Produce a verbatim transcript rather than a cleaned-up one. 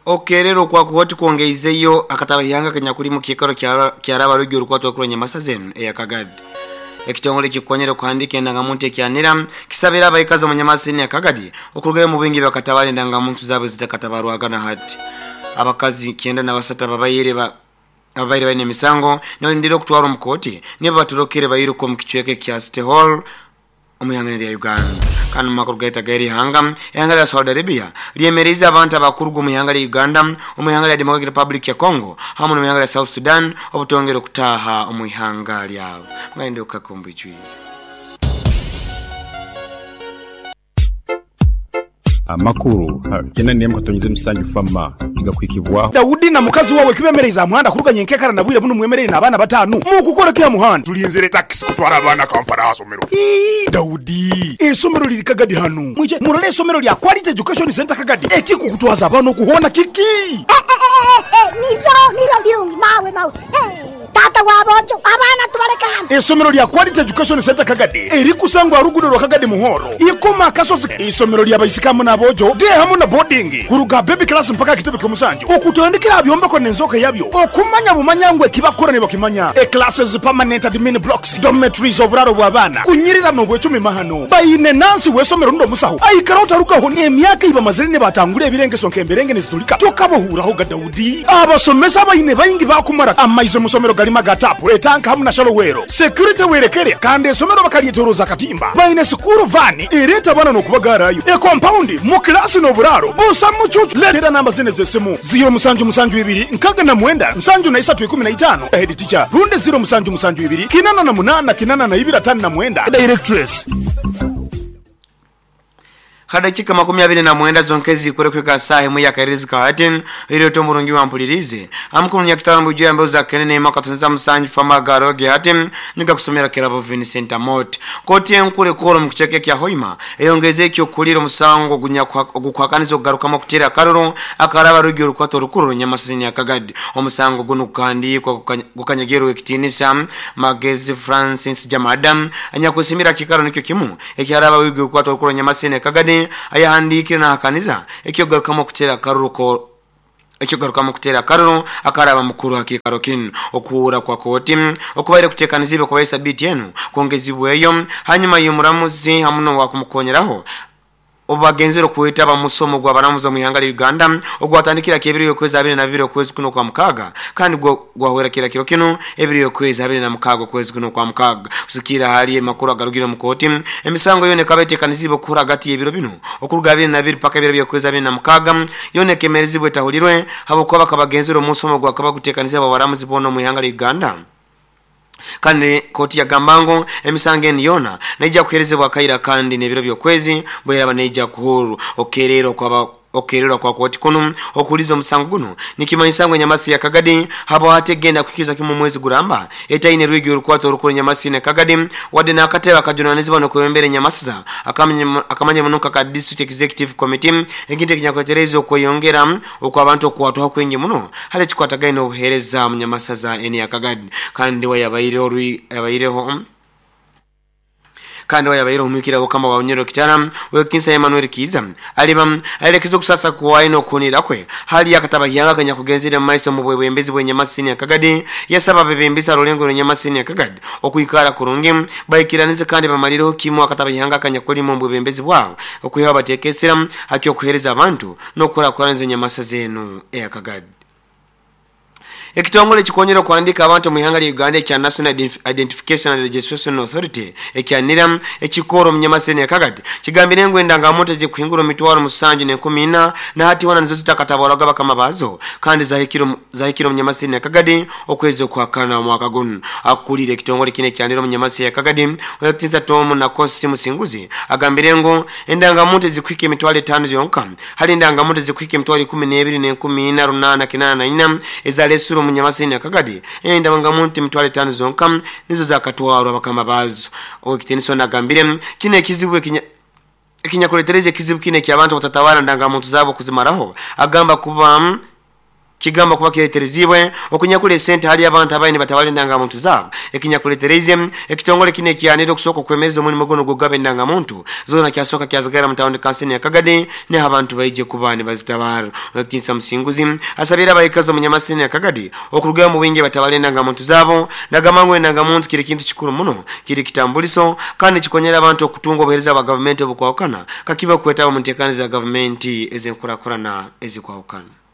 Okerero kwa kuhoti kuongeizeyo akatabayanga kenya kuli kikaro kyaraba rugi urukwato kuri Nyamasaze eya Kagadi. Ekitongole kikonyere kuhandika endangamuntu ekyanira kisabira abaikazi mu Nyamasini ya Kagadi okurugayo mu bingi bakatabala endangamuntu zabo zitakatabarwaga na hati. Abakazi kienda na basata babayire ba abaire baine misango nalindira okutwara omukoti nibo batulokere bayiruko mu kichweke kya City Hall omuyangana ya Uganda. Kandi makuru gaita gairi hanga ehanga ya Saudi Arabia lyemereza abantu abakurugu mu hanga ya Uganda, mu hanga ya Democratic Republic ya Congo hamwe no mu hanga ya South Sudan obutongero kutaha mu hanga lyabo. Ngende ukakumbijwi. Amakuru kena niye mkatonyize musanju fama igakwikibwa Daudi na mukazi wawe kibemereza muhanda kuruganye nkekara nabwire buno mwemerere nabana batanu mukukora kya muhanda tulinzire taxi kutwara abana Kampala asomero. Daudi esomero liri Kagadi hanu mwije murole esomero lya Quality Education Center Kagadi ekikukutwaza abana okuhona kiki niro niro birungi mawe mawe tata wabojo abana tubaleka hano. Esomero lya Quality Education Center Kagadi erikusangwa rugudo rwa Kagadi muhoro ikoma kasozi. Isomero lya baisikamu nabojo de hamu na boarding kuruga baby class mpaka kitebe kyomusanju okutandikira byombeko nenzoka yabyo okumanya bumanyangwe kibakora ne bakimanya e classes permanent admin blocks dormitories oburaro bw'abana kunyirira no bwecumi mahano bayine nansi wesomero ndo musaho aikara utarukaho ne emyaka iba mazire ne batangure ebirengeso nkemberenge nezitulika tokabohuraho ga Daudi abasomesa bayine bayingi bakumara amaizo musomero galima gatapu etanka hamu na shalowero security werekere kandi esomero bakalietoroza katimba bayine sukuru vani ireta bana no kubagarayo e compound mu class no buraro busa mucucu letera namba zine zesimu zero musanju musanju ibiri nkaga na mwenda nsanju na isatu ikumi na itano head teacher runde zero musanju musanju ibiri kinana na munana kinana na ibira tano na mwenda directress. Hadakika makumi abiri na mwenda zonkezi kurekweka saa mu ya kairizi ka hatin iriyo tomurungi wampulirize amkuru nyakitarambu juu ambazo za kenene makatunza musanju fama garoge hatin nika kusomera kirabo Vincent Amot koti enkule koro mkucheke kya hoima eyongeze kyo kuliro musango gukwakanizo kugaruka kutera karoro akaraba rugi urukwato rukuru Nyamasini ya Kagadi omusango guno kandi kwa gukanyagero ekitinisa Magezi Francis Jamadam anyakusimira kikaro nikyo kimu ekyaraba rugi urukwato rukuru Nyamasini ya Kagadi ayahandikire na hakaniza ekyogaruka kutera karoro ko ekyogaruka kutera karoro akaraba mukuru hakikaro kinu okuura kwa koti okubaire kutekanizibe kwa sabiti yenu kuongezibweyo hanyuma y'omuramuzi hamuno wa kumukonyeraho obagenzero kuita bamusomo gwa baramuza mu ihanga Uganda ogwatandikira kebiri yokwezi abiri na bibiri okwezi kuno kwa mukaga kandi gwahwera kira kiro kino ebiri yokwezi abiri na mukaga okwezi kuno kwa mukaga kusikira hali makuru agarugire mu koti emisango yone kabetekanizibe kura gati y'ebiro bino okuruga abiri na bibiri paka ebiro yokwezi abiri na mukaga yone kemerezibwe tahulirwe habo kwa bakabagenzero musomo gwa kabagutekanizibe abaramuzi bono mu ihanga Uganda. Kandi koti ya gambango emisango eni yona naija kuherezebwa kaira kandi nebiro byokwezi bweraba naija kuhuru okerero kwa okerero kwa koti kuno okuliza omusango guno nikimanyisa ngo Nyamasi ya Kagadi habo hategenda kukiza kimu mwezi guramba etaine rwigi urukwato rukuru Nyamasi ya Kagadi wade na akateba kajunanizibwa no kubembere Nyamasiza akamanye akamanye munuka ka District Executive Committee eginte kinyakoterezo kweyongera okwa abantu okwatwa kwingi muno hale chikwatagaine obuhereza mu Nyamasaza eni ya Kagadi kandi wayabaire orwi yabaireho kandi wayabaire omwikira bokama wa Nyoro Kitara wekinsa Emmanuel Kiza aliba aelekezo kusasa kuwaino kunira kwe hali yakataba yanga kanya kugenzira maiso mu bwebembezi bwe Nyamasini ya Kagadi yasaba bebembisa rulengo Nyamasini ya Kagadi okuikara kurungi baikiranize kandi bamaliro kimu akataba yanga kanya kuli mu bwebembezi bwabo okuyiha batekesera akyo kuhereza abantu nokora kwaranze Nyamasa zenu ya Kagadi. Ekitongole kikonyera kuandika abantu mu ihanga lya Uganda ekya National Identification and Registration Authority ekya NIRA ekikoro mu Nyamasini ya Kagadi kigambire ngo endangamuntu zikuhingura mitwaro musanju n'enkumi ina na hati wana nizo zitakatabarwaga bakama bazo kandi zahikiro zahikiro mu Nyamasini ya Kagadi okwezi kwa kana mwaka guno. Akulire ekitongole kine kya NIRA mu Nyamasini ya Kagadi wekitinza Tom na Kosi Musinguzi agambire ngo endangamuntu zikuhika emitwaro etano yonka hali endangamuntu zikuhika emitwaro ikumi n'ebiri n'enkumi ina runana kinana na ina ezalesuro mu Nyamasini ya Kagadi enda bangamuntu emitwaro etano zonka nizo zakatwarwa bakama bazo. Okiteniso nagambire kine ekizibu ekinya ekinyakuletereza ekizibu kine kya abantu batatawala ndangamuntu zabo kuzimaraho agamba kuba Kigamba kuba kireterezibwe okunyakula esente hali abantu abaine batawala endangamuntu zaabo ekinyakuletereize ekitongole kino ekyanire okusooka okwemeza omulimu guno gw'okugaba endangamuntu zoona kyasooka kyazigara mu tawuni kansini ya Kagadi neho abantu baije kuba nibazitabara. Owekitinisa Musinguzi asabire abaikazi omu nyamasini ya Kagadi okurugayo mu bwingi batabala endangamuntu zaabo, nagamba ngu endangamuntu kiri kintu kikuru muno, kiri kitambuliso kandi kikonyera abantu okutunga obuheereza bwa gavumenti obukwahukana kakiba okwetaba mu nteekaniza za gavumenti ez'enkurakurana ezikwahukana.